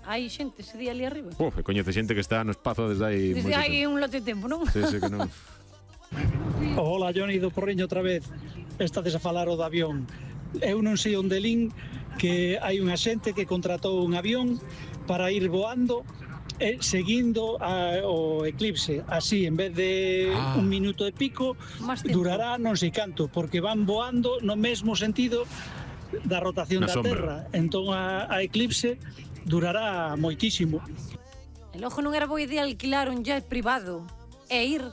hai xente ese día ali arriba. Coñece xente que está no espazo desde hai... Desde hai un lote de tempo, non? Sí, que non. Hola, Johnny do Porriño outra vez. Estades a falar o do avión. Eu non sei onde lin que hai unha xente que contratou un avión para ir voando seguindo o eclipse. Así, en vez de un minuto e pico, durará non sei canto, porque van voando no mesmo sentido da rotación da Terra. Entón a eclipse durará moitísimo. E logo non era boa idea alquilar un jet privado e ir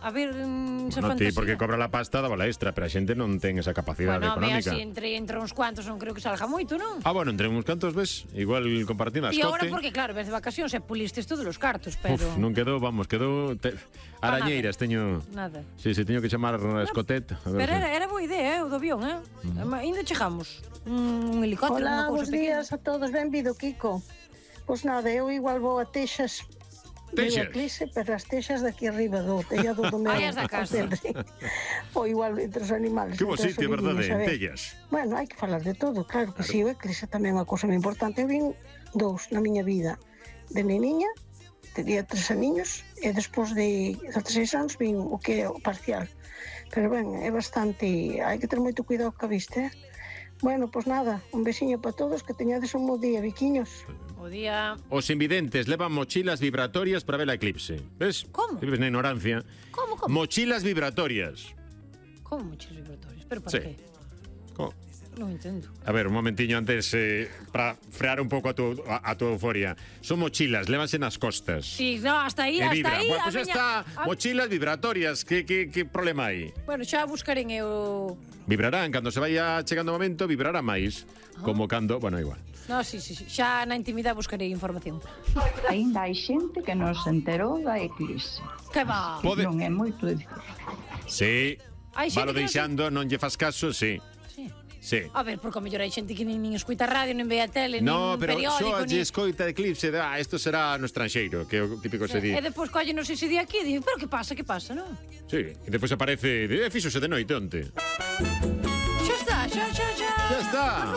a ver esa fantasía. Porque cobra la pasta da bola extra, pero a xente non ten esa capacidade económica. Bueno, así entre uns cuantos non creo que salga moito, non? Bueno, entre uns cantos, ves, igual compartindo as cote. E agora porque, claro, ves de vacacións e pulistes todos os cartos, pero... Non quedou, arañeiras, teño... Nada. Sí, teño que chamar a escotet. Pero era boa idea, o do avión, Ainda chegamos. Un helicóptero, Hola, bons días a todos, benvido, Kiko. Pois nada, eu igual vou a Texas. Texas? Eclipse, pero as texas daqui arriba do tellado do meu. Ai, as da casa. Ou igual entre os animales. Que bo sitio, verdade, en Tellas. Bueno, hai que falar de todo, claro que si, o eclipse tamén é unha cousa moi importante. Eu vin dous na miña vida. De niña, tenía 3 aniños, e despois de 16 anos vin o que é o parcial. Pero ben, é bastante... Hai que ter moito cuidado ca vista, Bueno, pois nada, un besiño para todos, que teñades un bo día, biquiños. Bo día. Os invidentes levan mochilas vibratorias para ver a eclipse. Ves? Como? Vives na ignorancia. Como? Mochilas vibratorias. Como mochilas vibratorias? Pero para qué? Como? Non entendo. A ver, un momentiño antes, para frear un pouco a tu euforia. Son mochilas, lévanse nas costas. Sí, no, hasta aí, hasta aí. Bueno, pues está, mochilas vibratorias. Que problema hai? Bueno, xa buscarén eu... Vibrarán, cando se vaya chegando o momento, vibrará máis. Como cando, bueno, igual. No, sí, xa na intimidade buscarei información. Ainda hai xente que non se enterou da eclipse. Que va? Non é moito difícil. Sí, valo deixando, non lle fas caso, sí. Sí. A ver, porque a mellor hai xente que nin escoita radio, nin ve a tele, nin periódico, só lle escoita eclipse, isto será no estranxeiro, que é o típico se di. E depois collenos ese día aquí e di, pero que pasa, non? Sí, e depois aparece, fíxose de noite onte. Xa está.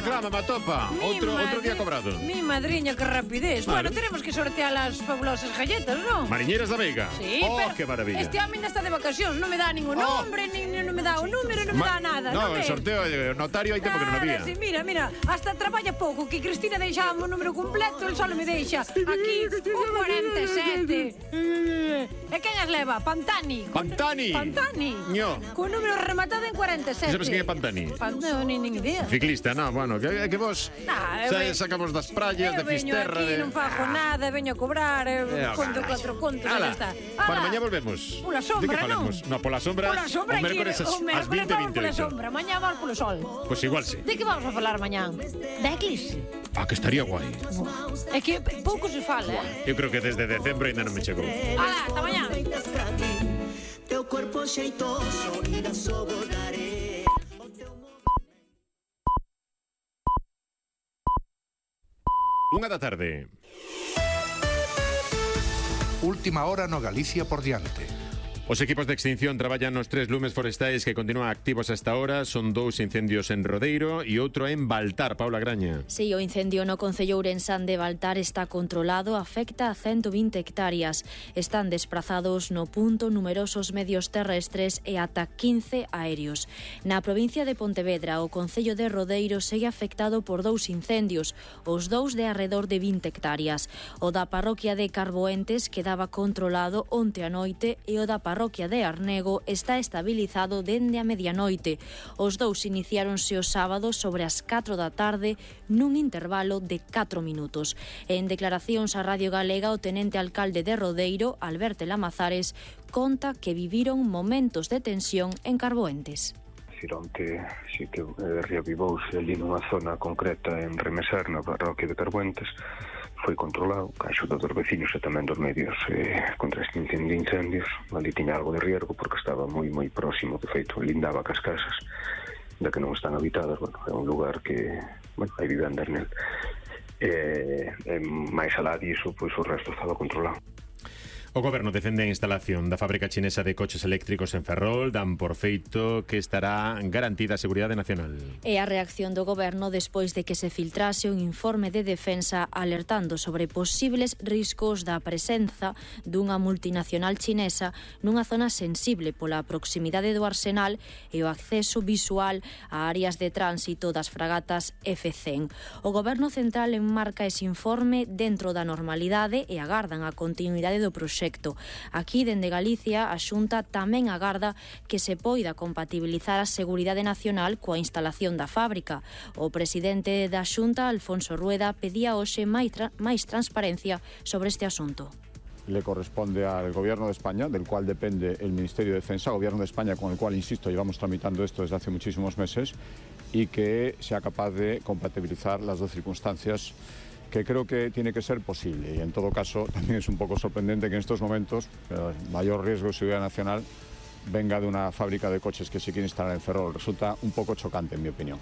Clama, matopa. Outro día cobrado. Mi madriña, que rapidez. Bueno, tenemos que sortear las fabulosas galletas, non? Mariñeiras da Veiga. Sí, pero que maravilla. Este home está de vacacións, non me dá ningún nombre, non me dá un número, non me dá nada. No, el sorteo, notario hai tempo que non había. Sí, mira, hasta traballa pouco, que Cristina deixaba o número completo, el solo me deixa aquí un 47. E quen as leva? Pantani. Pantani. Ño. Con número rematado en 47. Sabes quen é Pantani? Nin idea. Ciclista, bueno, que vos sacamos das praias, de Fisterra. Eu veño aquí, non fago nada, veño a cobrar, conto 4 contos, e xa está. Para mañá volvemos. Pola sombra, non? No, pola sombra, o mércores ás 20:28. Pola sombra, mañá vamos polo sol. Pois igual sí. De que vamos a falar mañá? Da eclipse. Que estaría guai. É que pouco se fala, Eu creo que desde decembro ainda non me chegou. Hasta mañá. Teu corpo xeitoso irá sobordaré. 1:00 AM. Última hora no Galicia por diante. Os equipos de extinción traballan nos 3 lumes forestais que continúan activos hasta ahora. Son 2 incendios en Rodeiro e outro en Baltar. Paula Graña. Sí, o incendio no concello ourensán de Baltar está controlado, afecta a 120 hectáreas. Están desprazados no punto numerosos medios terrestres e ata 15 aéreos. Na provincia de Pontevedra, o concello de Rodeiro segue afectado por 2 incendios, os 2 de arredor de 20 hectáreas. O da parroquia de Carboentes quedaba controlado onte a noite e o da parroquia de Arnego está estabilizado dende a medianoite. Os 2 iniciáronse o sábado sobre as 4 da tarde nun intervalo de 4 minutos. En declaracións á Radio Galega, o tenente alcalde de Rodeiro, Alberto Lamazares, conta que viviron momentos de tensión en Carboentes. Onte si que reavivouse ali nunha zona concreta en Remeser, na parroquia de Carboentes, foi controlado, ca axuda dos vecinos e tamén dos medios contra este incendio de incendios. Ali tiña algo de riesgo porque estaba moi próximo, de feito, lindaba cas casas da que non están habitadas. Bueno, é un lugar que, hai vivendas nel. máis alá diso, pois o resto estaba controlado. O Goberno defende a instalación da fábrica chinesa de coches eléctricos en Ferrol, dan por feito que estará garantida a seguridade nacional. E a reacción do Goberno despois de que se filtrase un informe de defensa alertando sobre posibles riscos da presenza dunha multinacional chinesa nunha zona sensible pola proximidade do arsenal e o acceso visual a áreas de tránsito das fragatas F-100. O Goberno central enmarca ese informe dentro da normalidade e agardan a continuidade do proxecto. Aquí, dende Galicia, a Xunta tamén agarda que se poida compatibilizar a seguridade nacional coa instalación da fábrica. O presidente da Xunta, Alfonso Rueda, pedía hoxe máis transparencia sobre este asunto. Le corresponde al Gobierno de España, del cual depende el Ministerio de Defensa, Gobierno de España con el cual, insisto, llevamos tramitando esto desde hace muchísimos meses, y que sea capaz de compatibilizar las dos circunstancias, que creo que tiene que ser posible. Y en todo caso, también es un poco sorprendente que en estos momentos el mayor riesgo de seguridad nacional venga de una fábrica de coches que se quiere instalar en Ferrol. Resulta un poco chocante, en mi opinión.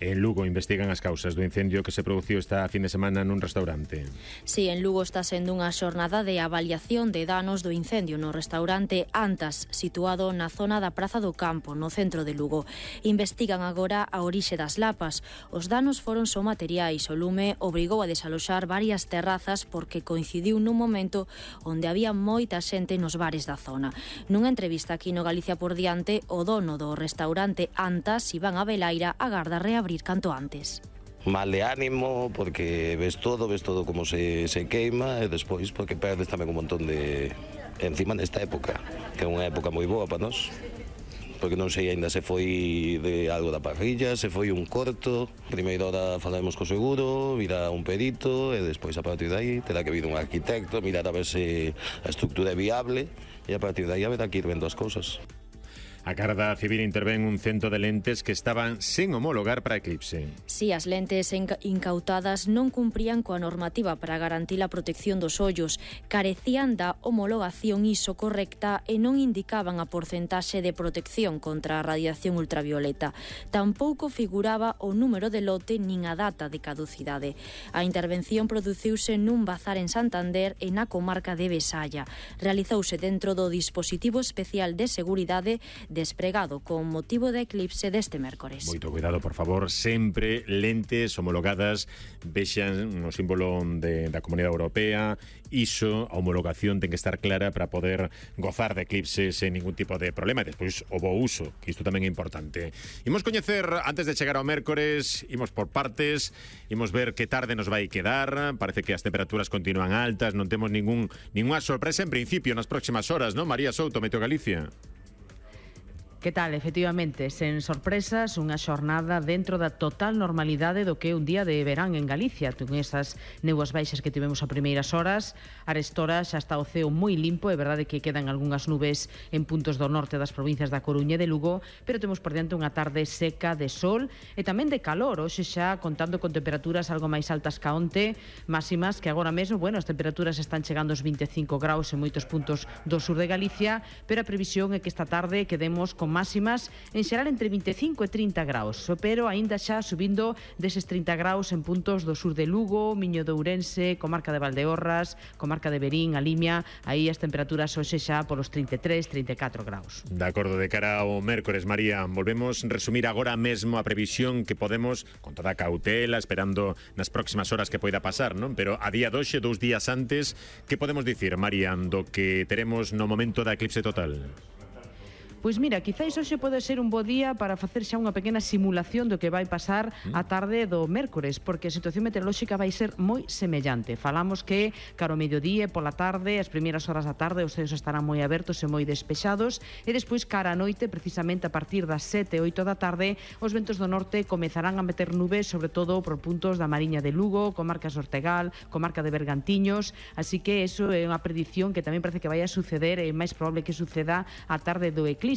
En Lugo investigan as causas do incendio que se produciu esta fin de semana nun restaurante. Sí, en Lugo está sendo unha xornada de avaliación de danos do incendio no restaurante Antas, situado na zona da Praza do Campo, no centro de Lugo. Investigan agora a orixe das lapas. Os danos foron só materiais. O lume obrigou a desaloxar varias terrazas porque coincidiu nun momento onde había moita xente nos bares da zona. Nunha entrevista aquí no Galicia por Diante, o dono do restaurante Antas, Iván Abelaira, agarda reabrir canto antes. Mal de ánimo, porque ves todo como se queima, e despois porque perdes tamén un montón de... encima nesta época, que é unha época moi boa para nós, porque non sei, ainda se foi de algo da parrilla, se foi un corto, primeiro hora falaremos co seguro, virá un perito, e despois a partir de aí terá que vir un arquitecto, mirar a ver se a estrutura é viable, e a partir de aí haberá que ir vendo as cousas. A Garda Civil intervén un cento de lentes que estaban sen homologar para Eclipse. Si, as lentes incautadas non cumprían coa normativa para garantir a protección dos ollos, carecían da homologación ISO correcta e non indicaban a porcentaxe de protección contra a radiación ultravioleta. Tampouco figuraba o número de lote nin a data de caducidade. A intervención produciuse nun bazar en Santander e na comarca de Besaya. Realizouse dentro do dispositivo especial de seguridade despregado con motivo da eclipse deste mércores. Moito cuidado, por favor, sempre lentes homologadas, vexan o símbolo da Comunidade Europea, ISO, a homologación ten que estar clara para poder gozar de eclipse sen ningún tipo de problema, e despois o bo uso, que isto tamén é importante. Imos coñecer, antes de chegar ao mércores, imos por partes, imos ver que tarde nos vai quedar, parece que as temperaturas continúan altas, non temos ningunha sorpresa en principio nas próximas horas, non? María Souto, Meteo Galicia. Que tal? Efectivamente, sen sorpresas, unha xornada dentro da total normalidade do que é un día de verán en Galicia. Con esas néboas baixas que tivemos a primeiras horas, arestora xa está o ceo moi limpo, é verdade que quedan algunhas nubes en puntos do norte das provincias da Coruña e de Lugo, pero temos por diante unha tarde seca de sol e tamén de calor, hoxe xa contando con temperaturas algo máis altas ca onte, máximas que agora mesmo, as temperaturas están chegando aos 25 graus en moitos puntos do sur de Galicia, pero a previsión é que esta tarde quedemos con máximas en xeral entre 25 e 30 graus, pero aínda xa subindo deses 30 graus en puntos do sur de Lugo, Miño de Ourense, comarca de Valdeorras, comarca de Verín, a Limia, aí as temperaturas hoxe xa polos 33, 34 graus. De acordo, de cara ao mércores, María, volvemos resumir agora mesmo a previsión que podemos, con toda a cautela, esperando nas próximas horas que poida pasar, non? Pero a día doxe, 2 días antes, que podemos dicir, María, do que teremos no momento da eclipse total? Pois mira, quizáis hoxe pode ser un bo día para facer xa unha pequena simulación do que vai pasar a tarde do mércores, porque a situación meteorolóxica vai ser moi semellante. Falamos que caro mediodía pola tarde, as primeiras horas da tarde, os ceos estarán moi abertos e moi despexados, e despois cara a noite, precisamente a partir das 7 e 8 da tarde, os ventos do norte comezarán a meter nubes, sobre todo por puntos da Mariña de Lugo, comarcas Ortegal, comarca de Bergantiños, así que eso é unha predición que tamén parece que vai a suceder, é máis probable que suceda a tarde do eclipse.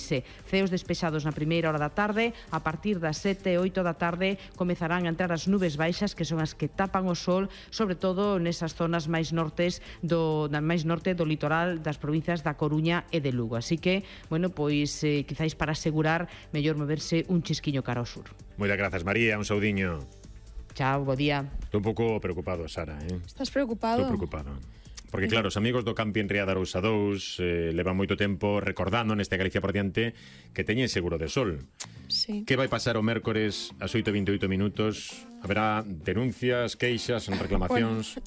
Ceos despexados na primeira hora da tarde, a partir das 7 e 8 da tarde comezarán a entrar as nubes baixas, que son as que tapan o sol, sobre todo nesas zonas máis norte do litoral das provincias da Coruña e de Lugo. Así que, quizáis para asegurar, mellor moverse un chisquiño cara ao sur. Moitas grazas, María, un saudiño. Chao, bo día. Estou un pouco preocupado, Sara, Estás preocupado? Estou preocupado. Porque claro, os amigos do Camping Ría de Arousa 2 levan moito tempo recordando neste Galicia por diante que teñen seguro de sol. Sí. Que vai pasar o mércores ás 8:28 minutos? Haberá denuncias, queixas, reclamacións?